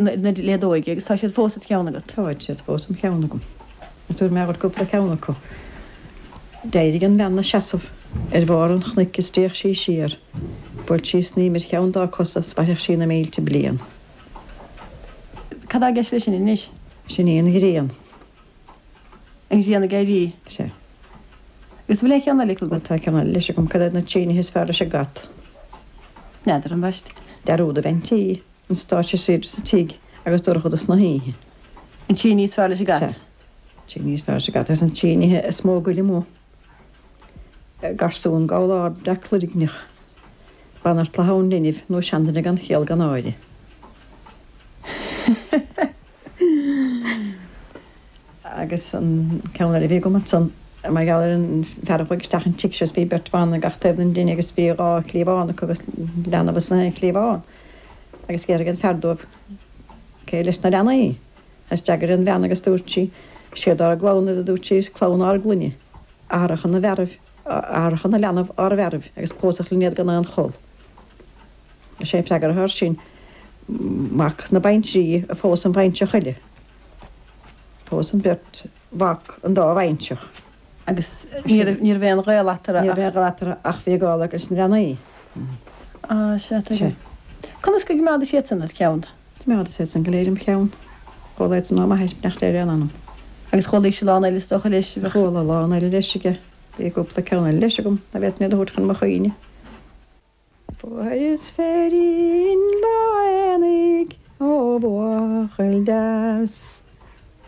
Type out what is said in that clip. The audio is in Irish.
Na leadóige agus tá siad fós id cheann agat. Táid siad fós im cheann agam. Agus tabharfaidh mé dhuit cúpla ceann acu. D'éirigh an bhean 'na seasamh ar bharr an chnoic is d'fhéach sí siar. Bhuail sí snaidhm ar cheann dá cosa 's mhairfeadh sí na mílte bliain. Cad tá i gceist leis sin anois? Sin í an ghrian. An ghrian ag éirí. Sea. Agus an bhfuil aon cheann eile acu agat? Tá ceann eile leis agam. Cad iad na trí nithe is fearr leis an gcat? N'fheadar, ambaiste. Dearúd a bhean tí. An stáitse is aoirde sa tigh agus dorchadas na hoíche. An trí ní is fearr leis an gcat. Sea. Trí ní is fearr leis an gcat agus an trí nithe is mó goil amuigh. Garsún gabhal ard breac loirgneach. Banaltra thonn linbh nó seanduine gan chiall gan áire. Agus an ceann eile a bhí agam ansan, mar gheall ar an fear a chuaigh isteach an tigh seo is bhí beirt bhan ag gach taobh den dtine agus bhí dhá chliabhán acu agus leanbh ins an aon chliabhán. Agus d'fhiafraigh an fear dóibh cé leis na leanaí. Agus d'fhreagair an bhean agus dúirt sí, Siad ár gclann iad a dúirt sí, is clann ár gclainne, athracha na bhfearaibh, athracha na leanbh ár bhfearaibh agus pósadh linn iad gan aon chol. Is é an freagra atá air sin, mac na baintrí a phós an bhainseach eile. Phós an bheirt mhac an dá bhainseach. Agus ní raibh, ní raibh aon ghaol eatarthu Ní raibh aon ghaol eatarthu ach bhí gaol acu leis na leanaí. Á, sea, tuigim. Conas go gcoimeádais iad san id cheann? Choimeádas iad san go léir im cheann. Chuala iad san ó m'athair, beannacht Dé ar a anam. Agus chualaís a lán eile is dócha leis. Chuala a lán eile leis aige. Bhí cúpla ceann eile leis agam, ná féadfainn iad a thabhairt chun mo chuimhne. Fuaireas féirín lá aonaigh ó bhuachaill deas.